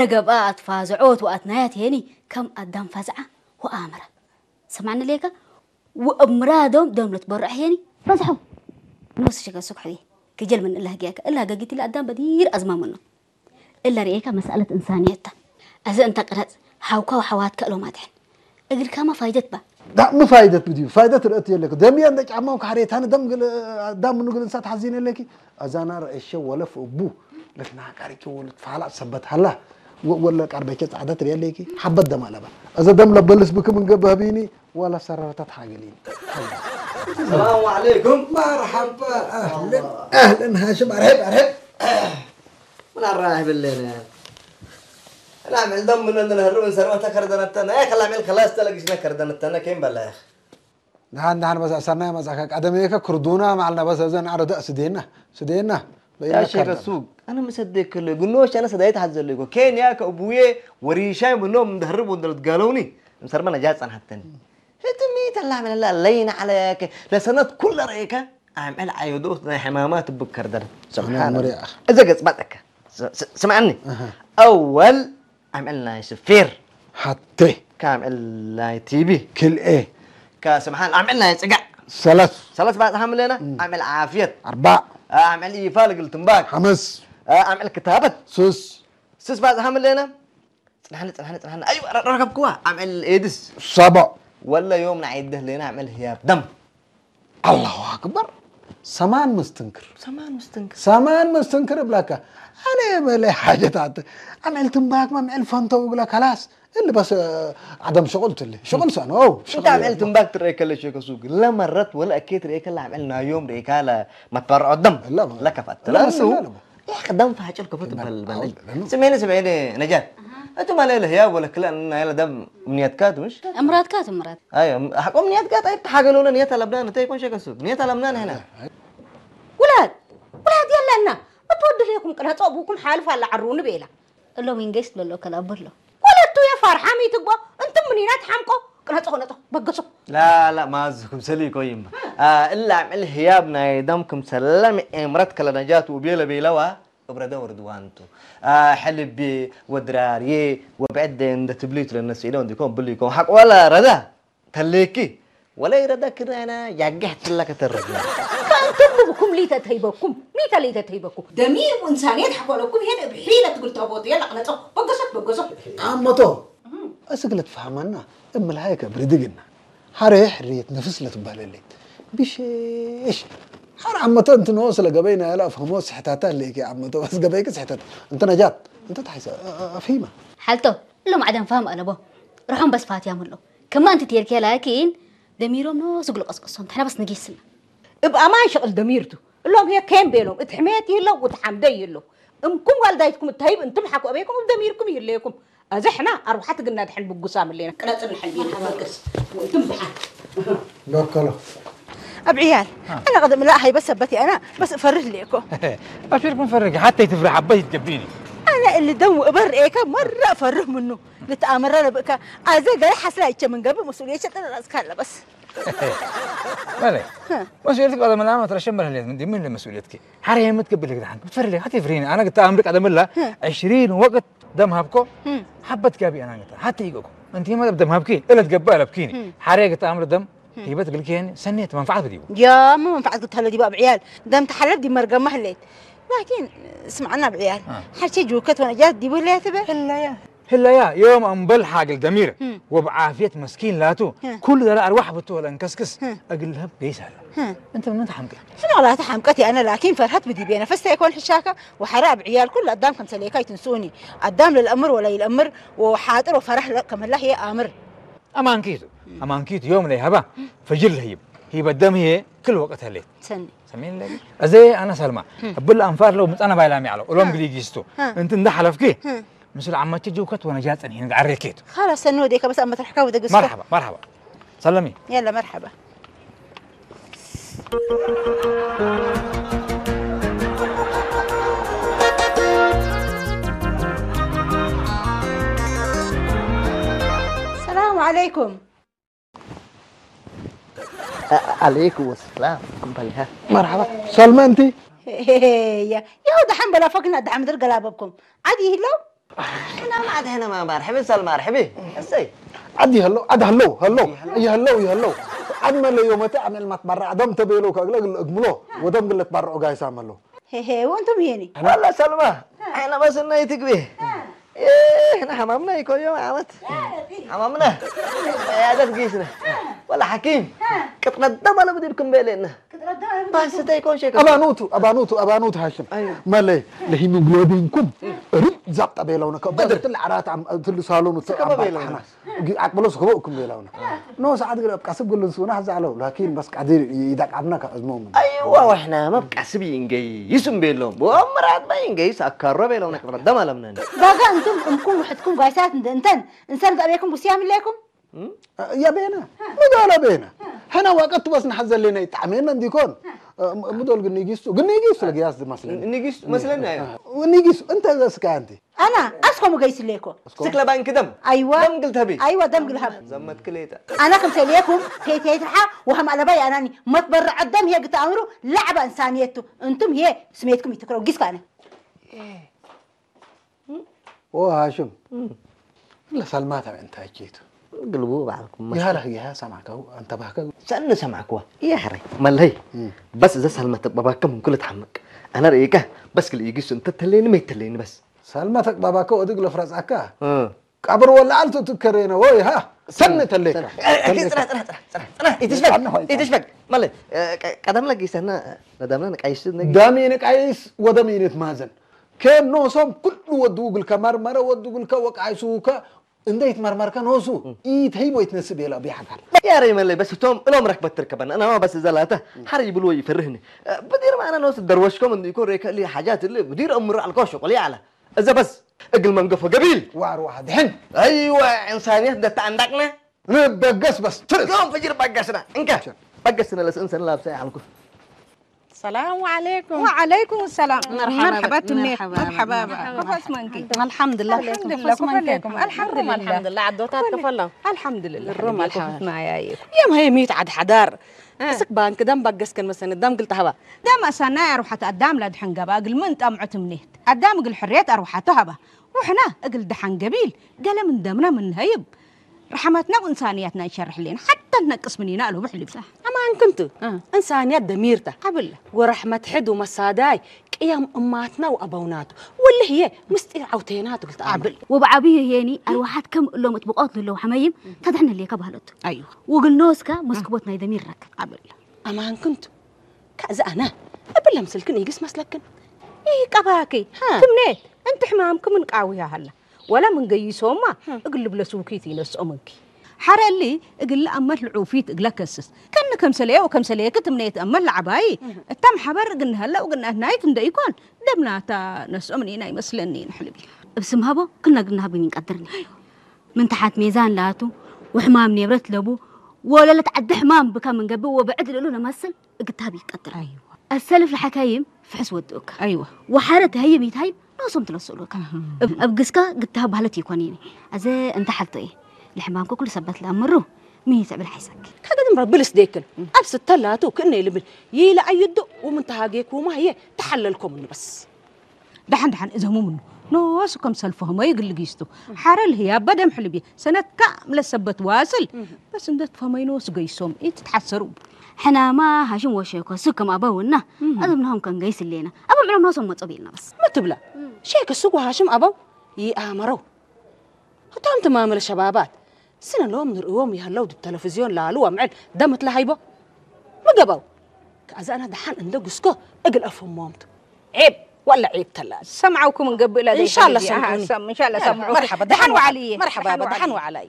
ለገብኣ ኣትፋዝዖ ትዋኣት ናያት ሄኒ ከም ኣዳም ፋዝዓ ወኣምራ። ሰማዕኒ ሌካ ወእምራዶም ደምለት በርዕ ሄኒ በዝሖም ንወስ ሸገ ሱክ ሕቢ ክጀል ምን እላ ህግያከ እላ ገጊት ኢላ ኣዳም በዲር ኣዝማመኖ እላ ርኤካ መሳለት እንሳንየታ። እዚ እንተ ቅረጽ ሓውካ ወሓዋትካ እሎም ኣትሕን እግልካማ ፋይደት ባ ዳእሚ ፋይደት ብድዩ ፋይደት ርእት የለክ ደምየ እንደ ጫማው ካሕሬታን ደም ግል ዳም ምኑ ግል እንሳት ሓዚን የለኪ ኣዛና ረእሸ ወለፍ እቡ ለትናቃሪኪ ወልት ፋላ ሰበት ሃላ ወለ ቃርበከ ጻዕደት ርየለኪ ሓበት ደም ኣለባ እዘ ደም ለበልስ ብክም እንገብ ህቢኒ ወላ ሰረረታት ሓገሊኒ ሰላም ዓለይኩም መርሓባ ኣህለን ኣህለን ሃሽም ኣርሕብ ኣርሕብ ምን ኣራህብለነ ላዕመል ደም ምን እንህርብ እንሰርባ ተከርደነተነ ከላዕመል ከላስ ተለግሽነ ከርደነተነ ከይም በላያኽ ንሓን ንሓን መጻ ሰናይ መጻካ ቀደመየከ ክርዱና ማዕልና በሰ ዘን ኣረ ደእ ስዴና ስዴና በይና ያሸከ ሱቅ ኣነ ምሰደይ ከለ ግኖሽ ኣነ ሰዳይ ተሓዘለ ይኮ ኬንያ ከቡዬ ወሪሻይ ምኖም እንደህርብ ወንደለት ጋለውኒ ምሰርመ ነጃ ጸንሐተኒ ህትሚ ተላመለላ ለይና ዓለያከ ለሰነት ኩለ ረእከ ኣምዕል ዓየዶ ናይ ሕማማ ትብከር ደር ስብሓን መሪኣ እዘ ገጽ ባጠካ ስምዓኒ ኣወል ኣምዕል ናይ ስፌር ሓቴ ካምዕል ናይ ቲቢ ክልኤ ከስምሓን ኣምዕል ናይ ጽጋዕ ሰለስ ሰለስ ባጽሓ ምለና ኣምዕል ዓፍየት ኣርባዕ ኣምዕል ይፋ ልግል ትንባክ ሓመስ ኣምዕል ክታበት ሱስ ስስ ባጽሓ ምለና ጽናሕኒ ጽናሕኒ ጽናሕኒ ኣዩ ረከብክዋ ኣምዕል ኤድስ ሰቦ ወለ ዮም ንዓይደህ ለና ኣምዕል ህያብ ደም ኣላሁ ኣክበር ሰማን መስትንክር ሰማን ምስትንክር ሰማን መስትንክር እብላካ ኣነ በለ ሓጀታት ኣምዕል ትንባክ መምዕል ፈንተው እብላ ከላስ እሊ በስ ዓደም ሽቁል ትሊ ሽቁል ሰኖ انت عملت مباك تريك اللي شيك سوق لا مرت ولا اكيد ريك اللي عملنا يوم ريك لا ما تبرع الدم لا، ما- لا كفت لا، بس لا، لا. يا اخي دم فاجر كفت بال عود، لأنه- بال سمعيني سمعيني نجاة انتم ما ليله يا ولا كلا انا يلا دم منيات كات مش እምራትካ ትምራት ايوه حقوم منيات كات اي حاجه لولا نيات لبنان انت يكون شيك سوق نيات لبنان هنا ውላድ ውላድ የለና እትወድል የኩም ቅነፀ ቡኩም ሓልፍ ኣላ ዓሩኒ ቤላ እሎም ኢንጌስት በሎ ከላብሎ ወለቱ የፋርሓም ይትግቦ እንትም ምኒና ትሓምቆ ቅነፀ ነጠ በገሶ لا لا ما زكم سلي كويم آه الا عمل هياب نايدم كم سلم امرت كلا نجات وبيلا بيلوا ابرده وردوانتو آه حلبي ودراري وبعد عند تبليت للناس إلى عندكم بليكم حق ولا ردا تليكي ولا يردا كده انا ياجه تلا كتر ከእንትም ብኩም ሊተ ተይበኩም ሚተ ሊተ ተይበኩም ደሚር እንሳንየት ሓኮለኩም ይሄን እብሒለ ትብል ተቦት የላ ቅነፀ በገሶ በገሶ ኣመቶ እስግለት ፈሃመና እምልሃይ ከብሪ ድግና ሓረ ሕርየት ነፍስ ለትባለለይ ብሸሽ ሓረ ኣመቶ እንትንኦ ስለ ገበይና ያለ ኣፍህሞ ስሕታታ ኣለይኪ ኣመቶ በስ ገበይክ ስሕተት እንተ ነጃት እንተ ተሓይሰ ኣፍሂማ ሓልቶ እሎም ዓደም ፋም ኣለቦ ርሖም በስፋት ያምሎ ከማ እንት ቴርኬ ላኪን ደሚሮም ኖ ስግሎ ቀስቀሶም ተሕና በስ ንጌስና እብ ኣማን ሸቕል ደሚርቱ እሎም ሄ ኬም ቤሎም እት ሕሜት ይለው ውት ሓምደ ይለው እምኩም ዋልዳይትኩም እታይብ እንትም ሓኩ ኣበይኩም እብ ደሚርኩም ይህለየኩም ኣዘ ሕና ኣርባሓት ግና ድሕን ብጉሳ ምሌና ቅረጽ ንሕል ቤት በገስ ወእንትም ድሓን በከሎ ኣብ ዕያል ኣነ ቅድም ላ ሃይበ ሰበት ኣና በስ እፈርህ ሌኮ أبشركم فرق حتى تفرح عباس تجبيني ኣነ እሊ ደም ወእበር ርኤከ መራ እፈርህ ምኑ ልትኣመራ ለብእካ ኣዘ ገለ ሓስላ ይቸ ምንገብእ መስኡልየቸ ጥረ ራስካ ኣለበስ مالك مسؤوليتك بعد ما نعمل ترى شمر هليت من دي من مسؤوليتك حريه ما تقبل لك دحين بتفرلي حتى يفريني انا قلت امرك ادم الله عشرين وقت دم هابكو حبت كابي انا قلت حتى يقوكو انت ما دم هابكي الا تقبل ابكيني حريه قلت امر دم هيبت قلت يعني سنيت منفعه بديو يا ما منفعت قلت هلا دي باب عيال دم تحلب دي مرقه ما هليت لكن اسمعنا بعيال حرشي جوكت وانا جات دي ولا تبع هلا يا هلا يا يوم أنبل حاجل دمير وبعافية مسكين لاتو كل ده أرواح بتو ولا انكسكس أقلها بيس هلا أنت من تحمك شنو والله تحمقت يا انا لكن فرحت بدي بينا فستا يكون حشاكه وحراب عيال كل قدام كم سليكاي تنسوني قدام للامر ولا الامر وحاضر وفرح لا كم الله هي امر أمانكيتو أمانكيتو يوم لي هبا فجر هيب هي بدم هي كل وقت هليت سني سمين لك أزي أنا سلمى أبل أنفار لو مت أنا بايلامي على أولوم قلي جيستو أنت ده حلفكي ምስሉ ዓማቸ ጀውከት ወነጃ ጸኒሕን ዓሬኬት خلاص ሰኒ ወዴከ በስ ኣመት ርሕካ ወደ ግስኮ مرحبا مرحبا سلمي يلا مرحبا السلام عليكم عليكم السلام كم بلها مرحبا سلمى انت يا يا دحم بلا فكنا دحم در قلابكم عادي هلو ሕና ማዕት ሕነ ማንባር ሕቢ ሰልማር ሕቢ እሰይ ዓዲ ይህለው ዓዲ ህለው ህለው ይህለው ይህለው ዓድ መለዮ መተ ኣመልማት ባራ ዓዶም ተቤለው ከእግለ እግምሎ ወደም ግለት ባራ ኦጋይሳ መሎ ሄሄ ወንቱም ይሄኒ ወላ ሰልማ ሕነ በስናይ ትግቢ ይህና ሕማምና ይኮዮ ዓመት ሕማምና ያደት ጊስነ ወላ ሓኪም ቅጥነት ደመለ ብድልኩም ቤለና ባስተ ይኮን ሸከ ኣባኑቱ ኣባኑቱ ኣባኑቱ ሃሽም መለይ ለሂሞግሎቢንኩም ርብ ዛብ ጠቤለውነ ከበድትል ዓራት ትሉ ሳሎኑ ተቀበለውነ ኣቅብሎ ስክበእኩም ቤለውነ ኖ ሰዓት ግለ ኣብ ቃስብ ግልን ስውና ዛዕለው ላኪን በስ ቃዲር ይዳቃብና ከእዝሞም ኣይዋ ወሕና መብ ቃስብ ይንገይ ይስም ቤሎም ወምራት ባይ ይንገይ ሳካሮ ቤለውነ ቅጥረት ደም ኣለምነን ባጋ እንቱም እምኩም ውሕድኩም ጓይሳት እንተን እንሰል ዘእቤኩም ጉስያም ኢለይኩም يا بينا مدول بينا هنا وقت بس نحزن لنا يتعمينا نديكون مدول قنيجيستو قنيجيستو لقياس دي مثلا ንጊስ መስለና እዩ ونيجيس انت ذا سكانتي ኣና ኣስኮም ገይስለይኮ ስክለ ባንክ ደም ኣይዋ ደም ግልተቢ ኣይዋ ደም ግልሃብ ዘመት ክሌታ ኣና ከም ሰልየኩም ከይተይትርሓ ወሃም ኣለባይ ኣናኒ መትበረ ዓደም ሄግ ተኣምሩ ላዕባ እንሳንየቱ እንቱም ሄ ስሜትኩም ይትክረው ጊስካነ ኦ ሃሽም ለሳልማታ እንታይ ኬቱ ግልቡ ባዕልኩም ይሃለህ ይሃ ሰማከው አንተ ባህከው ሰን ሰማዕኩዋ ይሕረ መለይ በስ እዛ ሳልማ ተቅባባከ ምን ኩለ ትሓምቅ ኣነ ርእይካ በስ ክልእዩ ጊሱ እንተ ተለይኒ መይተለይኒ በስ ሳልማ ተቅባባከ ወድግ ለፍረጻካ ቀብር ወላ ኣልቱ ትከሬነ ወይ ሃ ሰን ተለይካ ይትሽፈግ ይትሽፈግ መለይ ቀደም ለጊሰና ነዳምና ንቃይስ ዳሚን ቃይስ ወደሚን ማዘን ከም ኖሶም ኩሉ ወዱ ግልከ መርመረ ወዱ ግልከ ወቃይሱከ እንደ ይትመርመርከ ኖሱ ኢተይቦ ይትነስእ ቤላ ቢሓጋል ያረ መለይ በስ እቶም እሎም ረክበት ትርከበና እናማ በስ ዘላተ ሓር ይብልዎ ይፈርህኒ ብዲር ማዕና ኖስ ደርወሽኮም እንዲኮ ሬከሊ ሓጃት ል ብዲር እምሩ ኣልኮ ሽቁሊ ኣለ እዘ በስ እግል መንገፎ ገቢል ዋር ዋሕድ ሕን ኣይወ እንሳንየት ደተኣንዳቅነ ንበገስ በስ ትርስ ዮም ፍጅር በገስና እንካ በገስና ለስእን ሰንላብሳ ይሓልኩ السلام عليكم وعليكم السلام مرحبا مرحبا تنميت مرحبا مرحبا كفاس منكي الحمد لله الحمد لله كفاس منكم الحمد لله الحمد لله الروم الحمد ما يايكم يا ما هي ميت عاد حدار اسك بانك دم بقس كان مثلا دم قلت هبا دم اسانا يا روحة الدم لا دحن قبا قل من طمعت منيت الدم قل حريت اروحته هبا وحنا اقل دحن قبيل قال من دمنا من هيب رحمتنا وإنسانيتنا نشرح لنا حتى ننقص مننا له بحلف أما أن كنت إنسانيات دميرته قبل ورحمة حد ومصاداي قيم أماتنا وأبوناته واللي هي مستير عوتينات قلت قبل وبعبيه هيني أرواحات كم اللوم تبقات له حميم تدحن اللي كبهلت أيوه وقل نوسكا مسكبوتنا يدميرك قبل أما أن كنت كأز أنا قبل لمسلكن يقس مسلكن إيه قباكي تمنيت أنت حمامكم من قاوية هلا ولا من قيسوما اقلب لسوكيتي نسؤمنكي حرلي اقل أمل عوفيت اقلكسس كان كم سليه وكم سليه كتمنيت أمل عباي التم حبر قلنا هلا وقلنا هنايت نديكون دمنا تا نسؤمني ناي مسلني نحلبي بسم هبو كنا قلنا هبو من قدرني من تحت ميزان لاتو وحمام نبرت لبو ولا لتعد حمام بكا من قبل وبعد له نمثل እግታብ ይቀጥል። ኣይዋ ኣሰልፍ ለሓካይም ፍሕስ ወድኡካ። ኣይዋ ወሓረ ተህይም ይትሃይም ኖሶም ትለስእሉካ። ኣብ ግስካ ግታብ ባህለት ይኮን ይኒ። ኣዘ እንተ ሓልቶ እየ። ለሕማምኩ ኩሉ ሰበት ለኣምሩ ምን ይትዕብል ሓይሰክ። ከገድም ረብልስ ደይክል ኣብ ስተላቱ ክእነ ይልብል ይለ ኣዩዱ ውምን ተሃጌኩማ ህየ ተሓለልኮም ንበስ። ደሓን ደሓን እዘሙ ምኑ ኖሱ ከም ሰልፎ ህመዩ ግልጊስቱ ሓረል ህያ በደም ሕልቢ ሰነትካ ምለሰበት ዋስል በስ እንደት ፈመይ ኖሱ ገይሶም ኢትትሓሰሩ ሕናማ ሃሽም ወሸኮ ሱ ከም ኣበውና ኣዘምናሆም ከም ገይስ ሌና ኣብ ምዕሎም ኖሶም መጾ ቤልና በስ መትብላ ሼክ ሱጉ ሃሽም ኣበው ይኣመረው እቶም ትማመለ ሸባባት ስነ ሎም ንርእዎም ይሃለው ድብ ተለፍዝዮን ላሉ ኣምዕል ደምት ለሃይቦ ምገበው ከኣዛና ደሓን እንደ ጉስኮ እግል ኣፈሞምቱ ዔብ ወላ ዔብ ተላ ሰምዓውኩም እንገብእ ላ إن شاء الله سمعوني إن شاء الله سمعوا مرحبا دحن وعلي مرحبا دحن وعلي